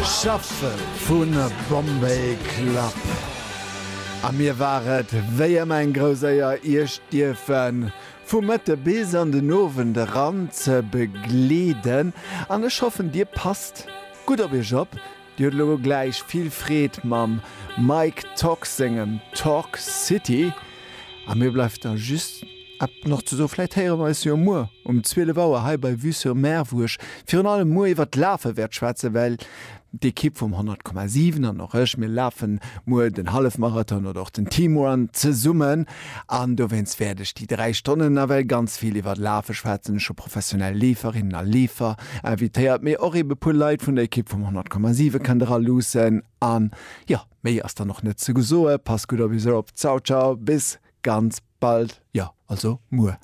Shuffle vu Bombay Club. A mir war et wéi ëmmer eng grouss Éier, Iech dierfe vu Mëtte bis an den Owend eran ze begleeden. An ech hoffen, Dir passt gutt op Iech op. Dir hutt elo gläich vill Freed mam Mike Tock sengem Talk City. A mir bleift da just nach ze soen, vläit héiere mer eis jo muer um 12 Auer hei bei Vue sur Mer, wou ech virun allem muer iwwert d'Lafe wäert schwätzen, well d'Ekipp vum 100,7 an och ech, mir lafen muer den Hallefmarathon oder och den Teamrun zesummen an dowéinst wäert ech déi 3 Stonnen nawell ganz vill iwwert Lafe schwätzen. Ech hu professionell Leeferinnen a Leefer invitéiert, mee och ebe puer Leit vun der Ekipp vum 100,7 kënnt era luussen an jo, méi ass dann och net ze gesoe. Passt gutt op iech op. Ciao, ciao, bis ganz bald, jo also muer.